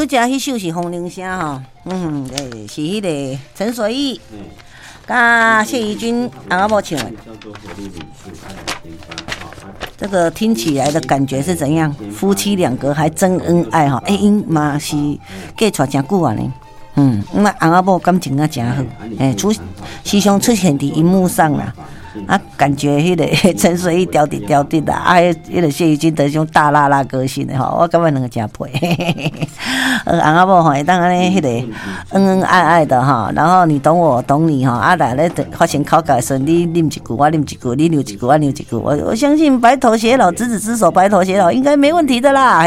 拄才彼首是《風鈴聲》吼，欸，是彼个陳水意佮謝怡君翁仔某唱的。這個聽起來的感覺是怎樣？夫妻兩個還真恩愛吼，欸，𪜶嘛是嫁娶誠久啊呢。那翁仔某感情啊誠好，欸，時常出現佇螢幕上啦。啊，感覺彼个陳水意刁直刁直啦，啊，彼个謝怡君的種大辣辣個性的吼，我感覺兩個誠配。翁仔某吼會當按呢彼個恩恩愛愛的哈，然後你懂我，我懂你哈，啊，來咧發生口角的時陣，你啉一句，我啉一句，你留一句，我留一句，我相信白頭偕老，執子之手，白頭偕老，應該沒問題的啦。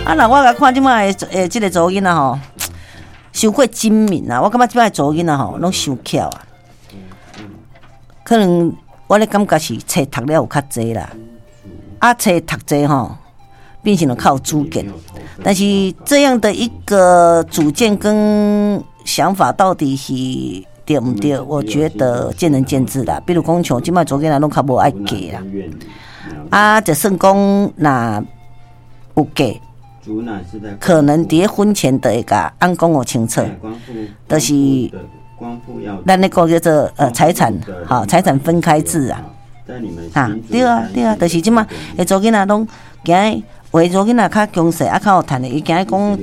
啊，那我來看這擺的欸，這个查某囡仔吼，傷過精明啊！我感覺這擺查某囡仔吼，攏傷巧啊。可能我咧感覺是冊讀了有較濟啦，啊，冊讀濟吼，變成了較有主見。但是這樣的一個主見跟想法到底是對毋對？我覺得見仁見智啦。比如講像這擺查某囡仔攏較無愛嫁啦，啊，就算講若有嫁，可能佇婚前就會共翁講予清楚，就是。咱那個叫做財產，吼，財產分開制啊，啊，對啊對啊，就是這馬，欸，查某囡仔攏驚，有的查某囡仔較強勢，啊，較有趁的，伊驚講翁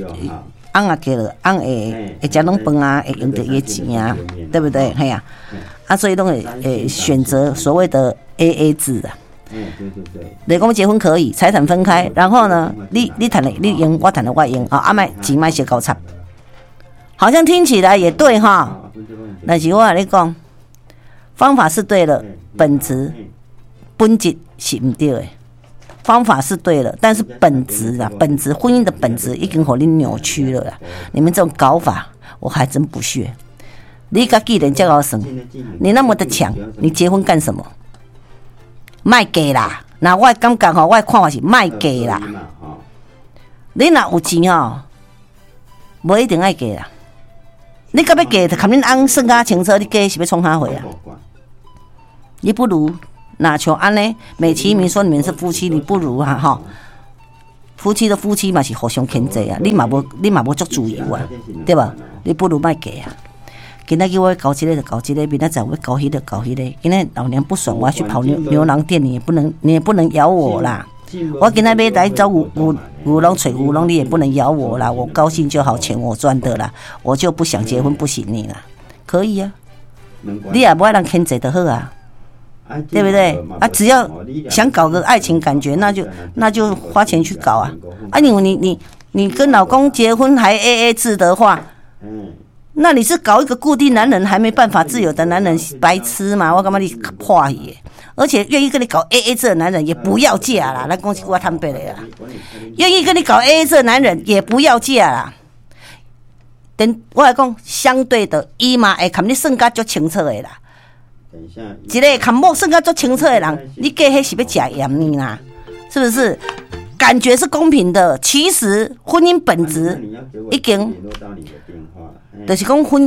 若嫁了，翁會食攏飯啊，會用著伊的錢啊，對不對？嘿啊，啊，所以攏會選擇所謂的 AA 制啊。你講結婚可以，財產分開，然後呢，你趁的你用，我趁的我用，啊，啊莫錢莫相交插，好像聽起來也對哈。但是我共你講，方法是對了，本質本質是毋對的。方法是對了，但是本質啊，本質婚姻的本質已經予你扭曲了啦。你們這種搞法，我還真不屑。你家己人這麼算，你那麼的強，你結婚幹什麼？莫嫁啦！那我感覺吼，我的看法是莫嫁啦。你若有錢吼，無一定愛嫁啦。你到欲嫁，就共恁翁算較清楚，你嫁是欲創啥貨啊？你不如若像按呢，美其名說你們是夫妻，你不如啊吼，夫妻的夫妻嘛是互相牽制啊，你嘛無足自由啊，對無？你不如莫嫁啊。今仔日我欲搞這個就搞這個，明仔載我欲搞彼個搞彼個。今仔老娘不爽，我要去跑牛郎店，你也不能咬我啦。我今仔欲來走牛牛牛郎揣牛郎，你也不能咬我啦。我高興就好，錢我賺的啦，我就不想結婚，不行你啦，可以啊。你也無愛人牽制就好啊，對不對？啊，只要想搞個愛情感覺，那就花錢去搞啊。啊，你跟老公結婚還 AA 制的話，那你是搞一個固定男人，還沒辦法自由的男人，白痴嘛？我感覺你破去？而且願意跟你搞 AA 制的男人也不要嫁啦，來講一句話坦白的啦。願意跟你搞 AA 制的男人也不要嫁啦。等我來講，相對的，伊嘛會共你算甲足清楚的啦。一個共某算甲足清楚的人，你嫁彼是欲食鹽呢啦？是不是？感覺是公平的，其實婚姻本質已經，就是講婚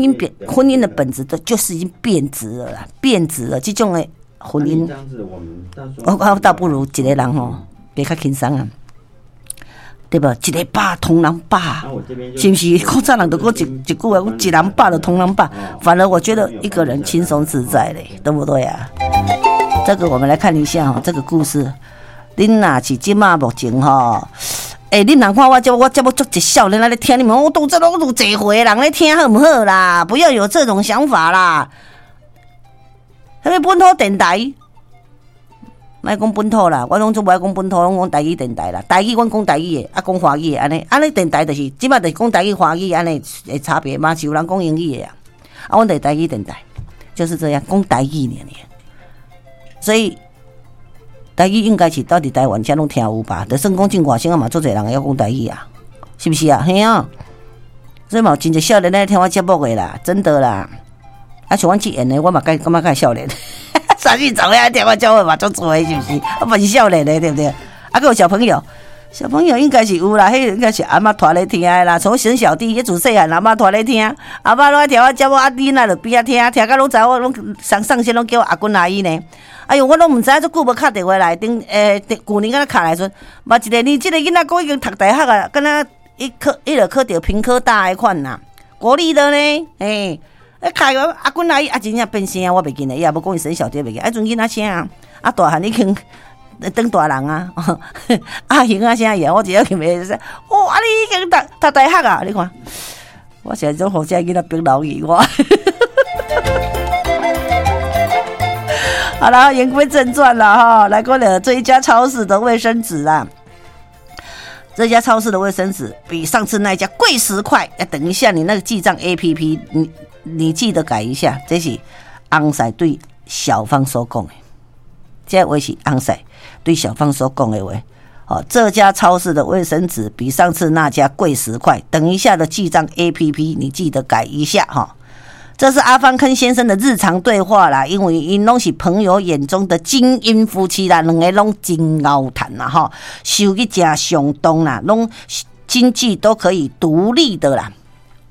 姻的本質都就是已經變質了啦，變質了。這種的婚姻，我倒不如一個人吼，過較輕鬆啊，對無？一个飽通人飽，是毋是？古早人就講一句話，講一人飽就通人飽。反而我覺得一個人輕鬆自在嘞，對不對啊？這個我們來看一下哈，這個故事。恁若是這馬目前吼，欸，恁人看我這我這麼足一少年來咧聽，你們我當這攏有濟歲的人咧聽好毋好啦？不要有這種想法啦。啥物本土電台？莫講本土啦，我攏總無愛講本土，攏講台語電台啦。台語阮講台語的，啊講華語的，按呢按呢電台就是，這馬就是講台語、華語按呢的差別嘛，是有人講英語的啊。啊，阮就是台語電台，就是這樣講台語爾爾。所以台語應該是到佇台灣遮攏聽有吧？就算講進外省啊嘛，足濟人會曉講台語啊，是毋是啊？嘿啊，所以嘛有真濟少年來聽我節目的啦，真的啦。啊，像阮這緣的，我嘛感覺較少年。30查某聽我節目嘛足濟，是毋是？我嘛是少年的，對不對？啊，閣有小朋友，小朋友應該是有啦，彼個應該是阿嬤帶咧聽的啦。從小小弟，彼自細漢阿嬤帶咧聽，阿嬤攏愛聽我節目，啊，囡仔就邊仔聽，聽甲攏知我攏上上線攏叫我阿君阿姨呢。哎喲，我攏毋知影，足久無敲電話來，頂欸，舊年敢若敲來時陣，嘛一個呢，這個囡仔閣已經讀大學啊，敢若伊考伊就考著屏科大彼款啦，國立的呢，欸，開個阿君阿姨啊，真正變聲，我袂記得，伊也無講伊生小弟袂記，啊，陣囡仔聲啊，啊大漢已經當大人啊，阿雄啊聲伊，我直接去袂使，哦，啊你已經讀讀大學啊，你看，我現在總予這囡仔逼老去我。好了，言歸正傳了哈，來過了這一家超市的衛生紙啊。這家超市的衛生紙比上次那一家貴10塊。要等一下，你那個記賬 APP，你記得改一下。這是翁婿對小芳所講的，這話是翁婿對小芳所講的話。哦，這家超市的衛生紙比上次那家貴十塊。等一下的記賬 APP，你記得改一下哈。這是阿芳跟先生的日常對話啦，因為𪜶攏是朋友眼中的精英夫妻啦，兩個攏真𠢕趁啦吼，收入誠相當啦，攏經濟都可以獨立的啦。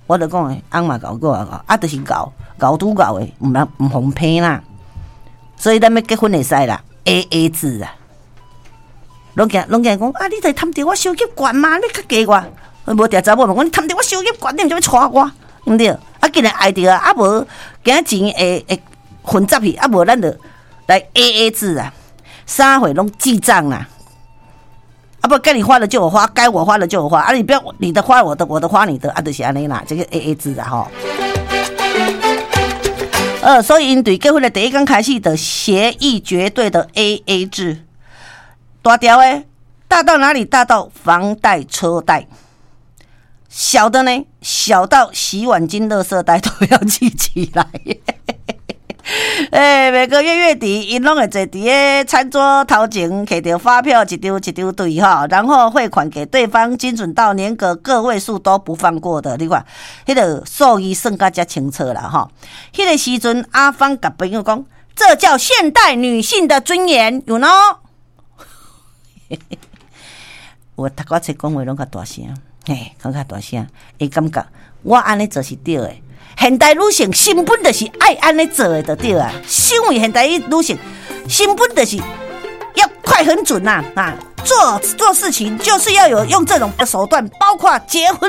我就講，翁嘛𠢕，我嘛𠢕，啊，就是𠢕，𠢕拄𠢕的，毋通毋予騙啦。所以咱欲結婚會使啦，AA 制啊。攏驚攏驚講啊，你著貪著我收入懸嘛，你較低我，無定查某嘛講你貪著我收入懸，你毋知欲娶我，毋對。啊，既然愛著啊，啊無驚錢會會混雜去，啊無咱就來 AA 制啊，三回攏記賬啦。啊不，該你花的就我花，該我花的就我花，啊你不要你的花我的，我的花你的，啊就是按呢啦，這個 AA 制啊吼。所以𪜶對結婚的第一工開始就協議絕對的 AA 制，大條的大到哪裡？大到房貸、車貸。小的呢，小到洗碗巾、垃圾袋都要記起來。欸，每個月月底，𪜶攏會坐佇个餐桌頭前，摕著發票一張一張對哈，然後匯款給對方，精準到連個個位數都不放過的。你看，彼個數字算甲遮清楚啦吼。彼個時陣，阿芳共朋友講，這叫現代女性的尊嚴，you know？我讀我冊講話攏較大聲。嘿，講較大聲，會感覺我按呢做是對的。現代女性根本就是愛按呢做的，就對啊。身為現代女性，根本就是要快狠準呐啊！做做事情就是要有用這種手段，包括結婚。